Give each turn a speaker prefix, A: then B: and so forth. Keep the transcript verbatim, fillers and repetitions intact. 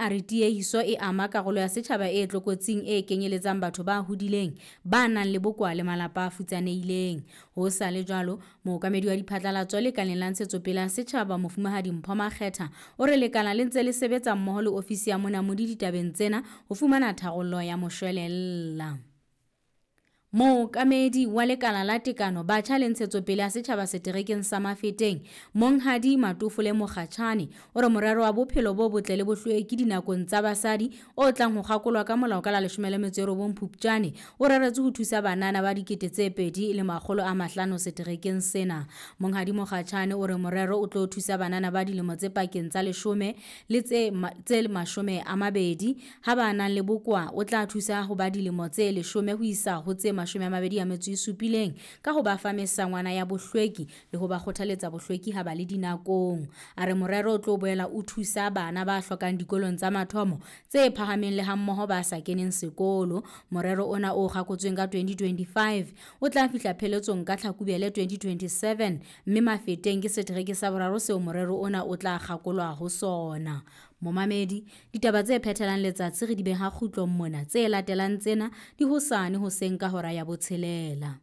A: a re tiehiso e ama karolo ya setjhaba e tlokotsing e kenyeletsang batho ba hodileng, ba nang le bokowa le malapa a futsanehileng. Ho sa le jwalo, mookamedi wa diphatlalatso lekaleng la ntshetsopele ya setjhaba Mofumahadi Mpho Makgetha o re lekala le ntse le sebetsa mmoho le ofisi ya monamodi ditabeng tsena ho fumana tharollo ya moshwelella. Mookamedi wa lekala la tekano batjha le ntshetsopele ya setjhaba seterekeng sa Mafeteng, Monghadi Matofole Mokgatjhane o re morero wa bophelo bo botle le bohlweki dinakong tsa basadi o tlang ho kgakolwa ka molao ka la leshome le metso e robong Phupjane o reretswe ho thusa banana ba dikete tse pedi le makgolo a mahlano seterekeng sena. Monghadi Mokgatjhane o re morero o tlo thusa banana ba dilemo tse pakeng tsa leshome le tse ma, tse mashome a mabedi ha ba nang le bokowa o tla thusa ho ba dilemo tse leshome ho isa ho tse mashome a mabedi a metso e supileng ka ho ba fa mesangwana ya bohlweki le ho ba kgothaletsa bohlweki ha ba le dinakong. A re morero o tlo boela o thusa bana ba hlokang dikolong tsa mathomo tse phahameng le hammoho ba sa keneng sekolo. Morero ona o kgakotsweng ka twenty twenty-five o tla fihla pheletsong ka Tlhakubele twenty twenty-seven mme Mafeteng ke setereke sa boraro seo morero ona o tla kgakolwa ho sona. Momamedi, ditaba tse phethelang letsatsi re di beha kgutlong mona, tse latelang tsena di hosane hoseng ka hora ya botshelela.